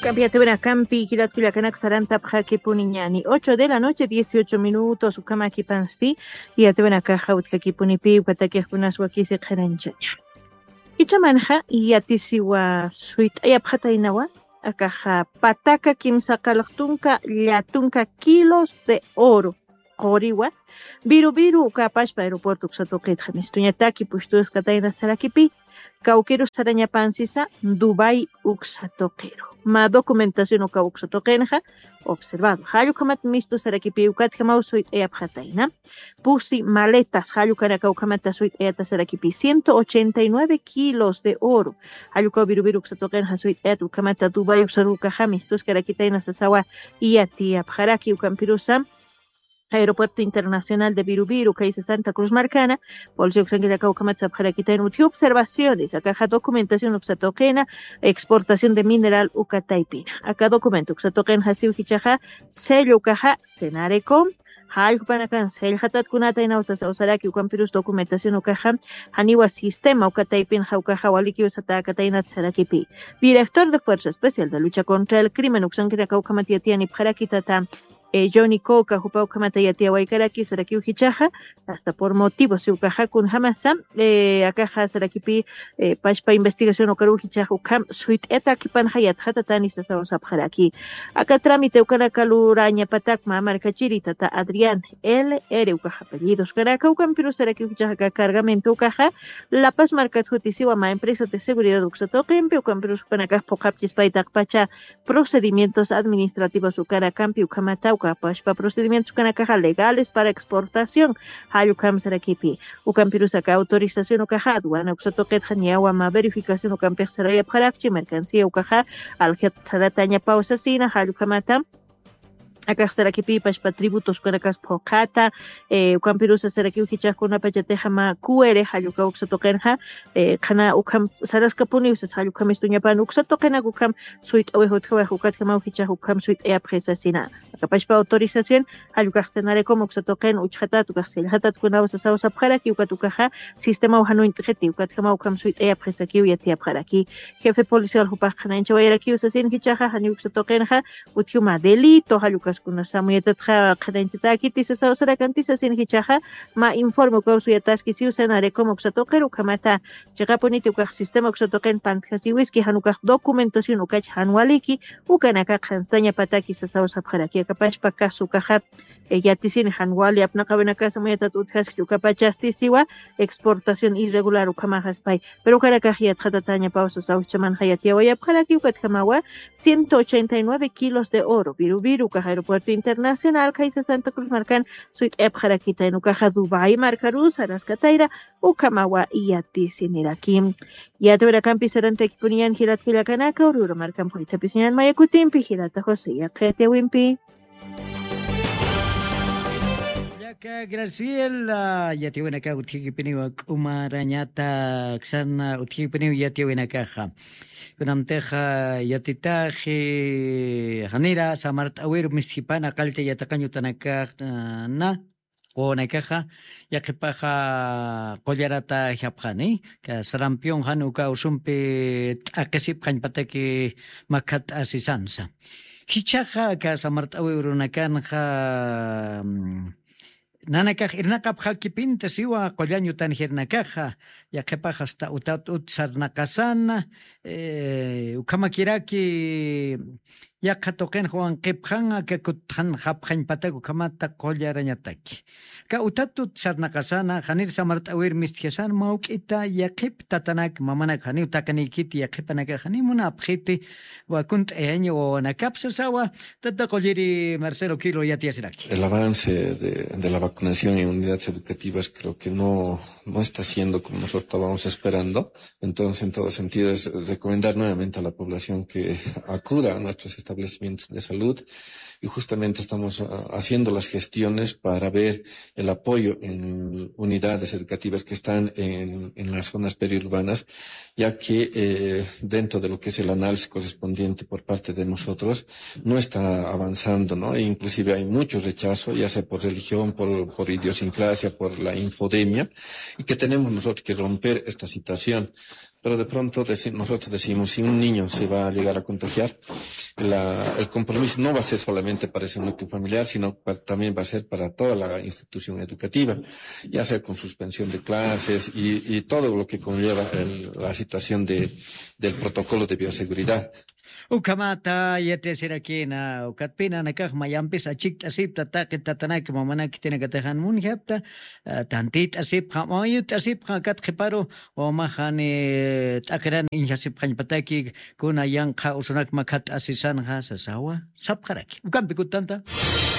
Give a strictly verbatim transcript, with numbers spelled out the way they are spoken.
Kampi yatiwinakampi jilat kullakanaka sarantapxakipuniñani. Ocho de la noche, dieciocho minutos, ukhamakipansti. Yatiwinakaxa utjakipunipi ukatakixkunas wakisi qhanañchaña. Ichamanxa yatisiwa suyt'ayapxataynawa, akaxa pataka kimsa qallqtunka llatunka kilos de oro quriwa, Viru Viru uka apashpa aeropuerto uksa tuqitxa mistuñataki pushtuskatayna sarakipi, kawkirus sarañapansisa Dubái uksa tuqiru. Mä documentación uka uksa tuqinxa observado. Jall ukhamat mistu sarakipi ukatjamaw suyt'ayapxatayna. Pusi maletas jall ukanaka ukhamata suyt'ayata sarakipi ciento ochenta y nueve kilos de oro. Jall ukaw Viru Viru uksa tuqinxa suyt'ayata ukhamata Dubái uksarukaxa mistuskarakitayna sasawa yatiyapxaraki ukampirusa Aeropuerto Internacional de Viru Viru, kaysa Santa Cruz markana, policía uksankiraka ukhamat sapxarakitayna utji observaciones, akaxa documentación uksa tuqina, exportación de mineral uka taypina. Aka documento uksa tuqinxa siw jichhaxa, sello ukaxa, Senarecom, jall jupanakan sellxatatkunata inawsa sawsaraki ukampirus documentación ukaxa, janiwa sistema uka taypinxa ukaxa walikiw satäkataynat sarakipi. Director de Fuerza Especial de Lucha contra el Crimen uksankiraka ukhamat yatiyanipxaraki tata eh, Johnny Coca, jupa ukhamata yatiyawaykaraki sarakiw jichhaxa, hasta por motivos ukaxa kunjamasa, eh, akaxa sarakipi, eh, pashpa investigación ukaruw jichhaxa ukham suyt'ayatakipanxa yatxatatani sasaw sapxaraki. Aka trámite ukanaka lurañapatak mä markachiri tata Adrián L R ukaxa apellidos ukanaka ukampiru sarakiw jichhaxa aka cargamento ukaxa La Paz markat jutisiwa mä empresa de seguridad uksa tuqimpi ukampiru jupanakax phuqhapchispay taqpacha procedimientos administrativos ukanakampi ukhamata uka apashpa procedimientos ukanakaxa legales para exportación jall ukham sarakipi. Ukampirus aka autorización ukaxa aduana uksa tuqitxa niyawa mä verificación ukampix sarayapxarakchi mercancía ukaxa aljat saratañapaw sasina jall ukhamata akax sarakipi pashpa tributos ukanakas phuqhata, eh, ukampirusa sarakiw jichhax kunapachatixa mä Q R jall uka uksa tuqinxa, eh, qhana ukham saraskapuniw sas jall ukham mistuñapan uksa tuqinak ukham suyt'awix utjawix ukatjamaw jichhax ukham suyt'ayapxi sasina. Aka pashpa autorización jall ukax Senarecom uksa tuqin uchxatat ukax sellxatatkunaw sasaw sapxaraki ukat ukaxa sistemaw jan uñt'xiti ukatjamaw ukham suyt'ayapxi sakiw yatiyapxaraki. Jefe policial jupax qhanañchawayarakiw sasin jichhaxa janiw uksa tuqinxa utji mä delito jall ukaskunasa amuyatatxa qhanañchatäkiti sasaw sarakanti sasin jichhaxa mä informe ukaw suyataskisiw Senarecom uksa tuqir ukhamata chiqapuniti ukax sistema uksa tuqin pantjasiwiski jan ukax documentación ukach jan waliki ukanaka qhanstañapataki sasaw sapxaraki aka pashpa caso ukaxa, eh, yatisini jan wali apnaqawinakas amuyatat utjaskchi uka pachasti siwa exportación irregular ukhamaxaspay. Pero ukanakax yatxatatañapaw sasaw jichhamanxa yatiyawayapxaraki ukatjamawa ciento ochenta y nueve kilos de oro Viru Viru ukax aeropuerto internacional kaysa Santa Cruz markan suyt'ayapxarakitayna ukaxa Dubái markarusa saraskatayra ukhamawa yatisiniraki. Yatiyawinakampi sarantakipuniñan jilat kullakanaka, Aurora markampi waytapisiñan maya kutimpi jilata José yaqha yatiyawimpi. Kullaka Graciela, yatiyawinaka utjikipiniw k'umarañata, aksan utjikipiniw yatiyawinakaxa. Kunamtixa yatitaxi, janira samart'awiru mistjipan aqallta yatiqañ utanakax, na, quwanakaxa, yaqhipaxa qullaratayapxani, ka sarampión jan uka usumpi t'aqhisipxañpataki makhat'asisansa. Jichhaxa aka samart'awi urunakanxa, mm, nanakax irnaqapxakipinta siwa qullañ utan jirinakaxa, yaqhipax hasta utat ut sarnaqasana, eh, ukhamakiraki yaqha tuqinxa wankipxan aka kutxanxapxañpatak ukhamata qullarañataki. Ka utat ut sarnaqasana, janir samart'awir mistjasana, mawk'ita yaqhip tatanak mamanak janiw taqinïkiti yaqhipanakax janiw munapxiti, wakunt'ayaña wawanakap sasawa, tata qulliri Marcelo Quilo yatiyasiraki. El avance de, de la vacunación en unidades educativas creo que no, no está siendo como nosotros estábamos esperando. Entonces, en todo sentido, es recomendar nuevamente a la población que acuda a nuestros establecimientos de salud y justamente estamos, ah, haciendo las gestiones para ver el apoyo en unidades educativas que están en, en las zonas periurbanas, ya que, eh, dentro de lo que es el análisis correspondiente por parte de nosotros, no está avanzando, ¿no? E inclusive hay mucho rechazo, ya sea por religión, por, por idiosincrasia, por la infodemia, y que tenemos nosotros que romper esta situación. Pero de pronto deci-, nosotros decimos, si un niño se va a llegar a contagiar, la, el compromiso no va a ser solamente para ese núcleo familiar, sino pa- también va a ser para toda la institución educativa, ya sea con suspensión de clases y, y todo lo que conlleva el- la situación de, del protocolo de bioseguridad. Ukhamata yatiyasirakïna ukatpï nanakax mayampis achikt'asipta taqi tatanaki mamanaki khitinakatix jan munjapta, tantït'asipxa mayut'asipxa akat qhiparu wawamax jani t'aqiran iñjasipxañpataki kuna yanqha usunak makhat'asisanxa sasawa sapxaraki ukampi kutanta.